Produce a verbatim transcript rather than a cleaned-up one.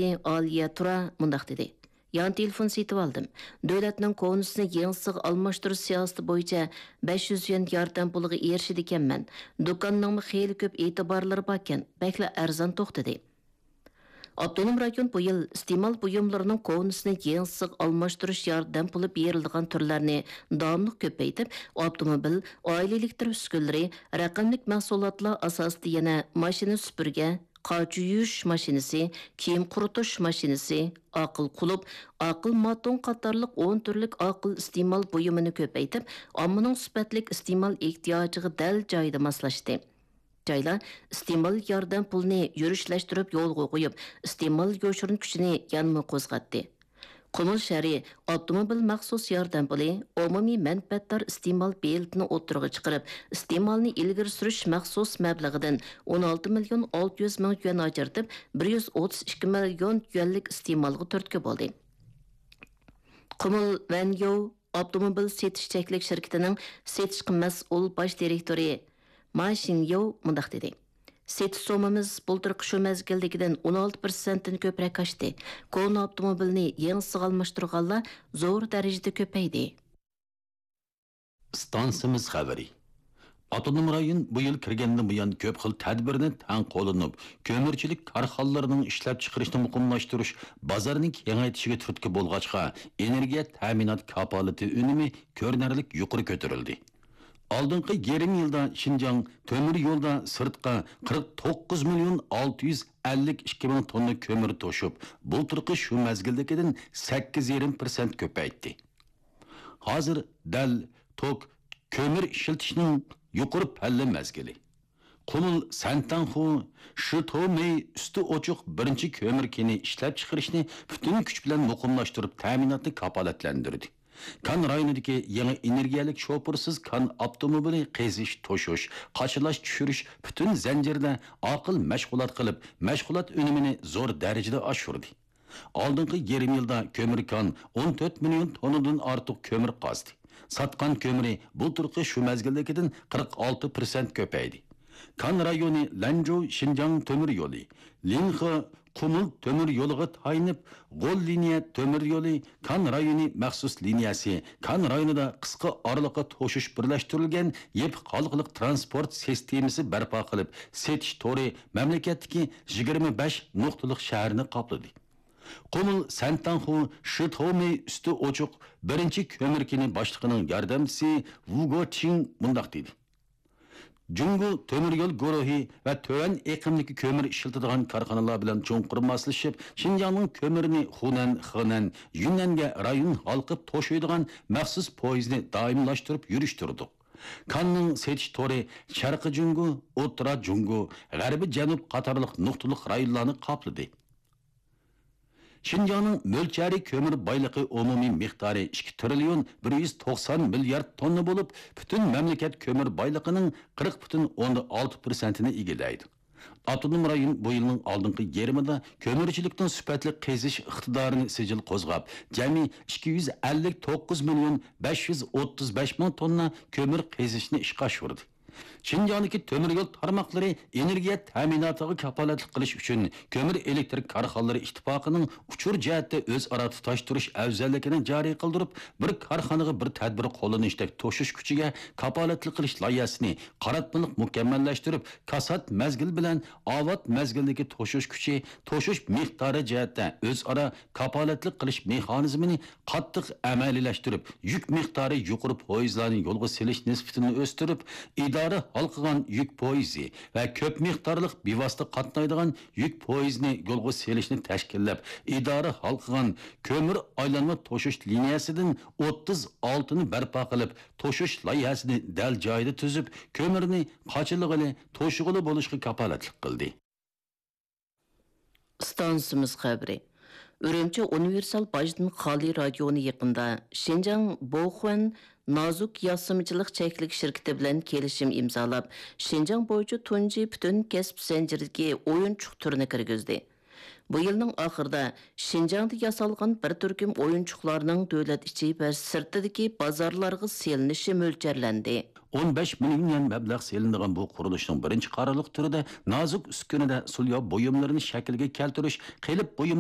ئالىيە تۇرا مۇنداق دېدى: يان تېلېفون سېتىۋالدىم. دۆلەتنىڭ كونىسىنى يېڭىسىغا ئالماشتۇرۇش سىياسىتى بويىچە بەش يۈز يۈەن ياردەم پۇلىغا ئېرىشىدىكەنمەن. دۇكاننىڭمۇ خېلى كۆپ ئېتىبارلىرى باركەن، بەكلا ئەرزان توختىدى. ئاپتونوم رايون بۇ يىل ئىستېمال بۇيۇملىرىنىڭ كونىسىنى يېڭىسىغا ئالماشتۇرۇش ياردەم پۇلى بېرىلىدىغان تۈرلەرنى داۋاملىق كۆپەيتىپ، ئاپتوموبىل، ئائىلە ئېلېكتر ئۈسكۈنىلىرى، رەقەملىك مەھسۇلاتلار ئاساسىدا يەنە ماشىنا سۈپۈرگە، قاچا يۇيۇش ماشىنىسى، كىيىم قۇرۇتۇش ماشىنىسى، ئاقىل قۇلۇپ، ئاقىل ماتون قاتارلىق ئون تۈرلۈك ئاقىل ئىستېمال بۇيۇمىنى كۆپەيتىپ، ئاممىنىڭ سۈپەتلىك ئىستېمال ئېھتىياجىغا دەل جايىدا ماسلاشتى. جايلار ئىستېمال ياردەم پۇلىنى يۈرۈشلەشتۈرۈپ يولغا قويۇپ، ئىستېمال يوشۇرۇن كۈچىنى يەنىمۇ قوزغاتتى. قۇمۇل شەھىرى ئاپتوموبىل مەخسۇس ياردەم پۇلى، ئومۇمىي مەنپەئەتدار ئىستېمال بېلىتىنى ئوتتۇرىغا چىقىرىپ، ئىستېمالنى ئىلگىرى سۈرۈش مەخسۇس مەبلىغىدىن ئون ئالتە مىليون ئالتە يۈز مىڭ يۈەن ئاجرىتىپ، بىر يۈز ئوتتۇز ئىككى مىليون يۈەنلىك ئىستېمالغا تۈرتكە بولدى. قۇمۇل ۋەنيوۋ ئاپتوموبىل سېتىش چەكلىك شىركىتىنىڭ سېتىشقا مەسئۇل باش دىرېكتورى ما شىنيوۋ مۇنداق دېدى: سېتىش سوممىمىز بۇلتۇرقى شۇ مەزگىلدىكىدىن ئون ئالتە پىرسەنتتىن كۆپرەك ئاشتى. كونا ئاپتوموبىلنى يېڭىسىغا ئالماشتۇرغانلار زور دەرىجىدە كۆپەيدى. ئىستانسىمىز خەۋىرى. ئاپتونوم رايون بۇ يىل كىرگەندىن بۇيان كۆپ خىل تەدبىرنى تەڭ قوللىنىپ، كۆمۈرچىلىك كارخانىلىرىنىڭ ئىشلەپچىقىرىشنى مۇقىملاشتۇرۇش، بازارنى كېڭەيتىشىگە تۈرتكە بولغاچقا، ئېنېرگىيە تەمىنات كاپالىتى ئۈنۈمى كۆرۈنەرلىك يۇقىرى كۆتۈرۈلدى. ئالدىنقى يېرىم يىلدا شىنجاڭ تۆمۈر يولدا سىرتقا قىرىق توققۇز مىليون ئالتە يۈز ئەللىك ئىككى مىڭ توننا كۆمۈر توشۇپ، بۇلتۇرقى شۇ مەزگىلدىكىدىن سەككىز يېرىم پىرسەنت كۆپەيتتى. ھازىر دەل توك كۆمۈر ئىشلىتىشنىڭ يۇقىرى پەللە مەزگىلى. قۇمۇل سەنتەنخۇ شىتومېي ئۈستى ئوچۇق بىرىنچى كۆمۈر كېنى ئىشلەپچىقىرىشنى پۈتۈن كۈچ بىلەن مۇقىملاشتۇرۇپ، تەمىناتنى كاپالەتلەندۈردى. كان رايونىدىكى يېڭى ئېنېرگىيەلىك شوپۇرسىز كان ئاپتوموبىلى قېزىش، توشۇش، قاچىلاش، چۈشۈرۈش پۈتۈن زەنجىرىدە ئاقىل مەشغۇلات قىلىپ، مەشغۇلات ئۈنۈمىنى زور دەرىجىدە ئاشۇردى. ئالدىنقى يېرىم يىلدا كۆمۈر كان ئون تۆت مىليون توننىدىن ئارتۇق كۆمۈر قازدى. ساتقان كۆمۈرى بۇلتۇرقى شۇ مەزگىلدىكىدىن قىرىق ئالتە پىرسەنت كۆپەيدى. كان رايونى لەنجۇ شىنجاڭ تۆمۈر يولى، لىنخې قۇمۇل تۆمۈر يولىغا تايىنىپ، غول لىنىيە تۆمۈر يولى، كان رايونى مەخسۇس لىنىيەسى، كان رايونىدا قىسقا ئارىلىققا توشۇش بىرلەشتۈرۈلگەن يېپىق ھالقىلىق تىرانسپورت سىستېمىسى بەرپا قىلىپ، سېتىش تورى مەملىكەتتىكى يىگىرمە بەش نۇقتىلىق شەھەرنى قاپلىدى. قۇمۇل سەنتاڭخۇ شىتومېي ئۈستى ئوچۇق بىرىنچى كۆمۈر كېنى باشلىقىنىڭ ياردەمچىسى ۋۇگو چىڭ مۇنداق دېدى: جۇڭگو تۆمۈر يول گۇرۇھى ۋە تۆۋەن ئېقىمدىكى كۆمۈر ئىشلىتىدىغان كارخانىلار بىلەن چوڭقۇر ماسلىشىپ، شىنجاڭنىڭ كۆمۈرىنى خۇنەن، خېنەن، يۈننەنگە رايون ھالقىپ توشۇيدىغان مەخسۇس پويىزنى دائىملاشتۇرۇپ يۈرۈشتۈردۇق. كاننىڭ سېتىش تورى شەرقىي جۇڭگو، ئوتتۇرا جۇڭگو، غەربىي جەنۇب قاتارلىق نۇقتىلىق رايونلارنى قاپلىدى. شىنجاڭنىڭ مۆلچەرى كۆمۈر بايلىقى ئومۇمىي مىقدارى ئىككى تىرىليون بىر يۈز توقسان مىليارد توننا بولۇپ، پۈتۈن مەملىكەت كۆمۈر بايلىقىنىڭ قىرىق پۈتۈن ئوندىن ئالتە پىرسەنتىنى ئىگىلەيدۇ. ئاپتونوم رايون بۇ يىلنىڭ ئالدىنقى يېرىمىدا كۆمۈرچىلىكنىڭ سۈپەتلىك قېزىش ئىقتىدارىنى سىجىل قوزغاپ، جەمئىي ئىككى يۈز ئەللىك توققۇز مىليون بەش يۈز ئوتتۇز بەش مىڭ توننا كۆمۈر قېزىشنى ئىشقا ئاشۇردى. شىنجاڭدىكى تۆمۈر يول تارماقلىرى ئېنېرگىيە تەمىناتىغا كاپالەتلىك قىلىش ئۈچۈن، كۆمۈر ئېلېكتىر كارخانىلىرى ئىتتىپاقىنىڭ ئۇچۇر جەھەتتە ئۆزئارا تۇتاشتۇرۇش ئەۋزەللىكىنى جارى قىلدۇرۇپ، بىر كارخانىغا بىر تەدبىر قوللىنىشتەك توشۇش كۈچىگە كاپالەتلىك قىلىش لايىھەسىنى قاراتمىلىق مۇكەممەللەشتۈرۈپ، كاسات مەزگىل بىلەن ئاۋات مەزگىلدىكى توشۇش كۈچى، توشۇش مىقدارى جەھەتتە ئۆزئارا كاپالەتلىك قىلىش مېخانىزمىنى قاتتىق ئەمەلىيلەشتۈرۈپ، يۈك مىقدارى يۇقىرى پويىزلارنى يولغا سېلىش نىسبىتىنى ئۆستۈرۈپ، ئىدارە ھالقىغان يۈك پويىزى ۋە كۆپ مىقدارلىق بىۋاسىتە قاتنايدىغان يۈك پويىزىنى يولغا سېلىشنى تەشكىللەپ، ئىدارە ھالقىغان كۆمۈر ئايلانما توشۇش لىنىيەسىدىن ئوتتۇز ئالتىنى بەرپا قىلىپ، توشۇش لايىھەسىنى دەل جايىدا تۈزۈپ، كۆمۈرنى قاچىلىغىلى، توشۇغىلى بولۇشقا كاپالەتلىك قىلدى. ئىستانسىمىز خەۋىرى. ئۈرۈمچى ئۇنىۋېرسال باجدىن خالىي رايونى يېقىندا شىنجاڭ بوخۈەن نازۇك ياسىمىچىلىق چەكلىك شىركىتى بىلەن كېلىشىم ئىمزالاپ، شىنجاڭ بويىچە تۇنجى پۈتۈن كەسىپ زەنجىرىدىكى ئويۇنچۇق تۈرىنى كىرگۈزدى. بۇ يىلنىڭ ئاخىرىدا شىنجاڭدا ياسالغان بىر تۈركۈم ئويۇنچۇقلارنىڭ دۆلەت ئىچى ۋە سىرتىدىكى بازارلارغا سېلىنىشى مۆلچەرلەندى. ئون بەش مىليون يۈەن مەبلەغ سېلىنىدىغان بۇ قۇرۇلۇشنىڭ بىرىنچى قارارلىق تۈرىدە نازۇك ئۈسكۈنىدە سۇلياۋ بۇيۇملىرىنى شەكىلگە كەلتۈرۈش، قېلىپ بۇيۇم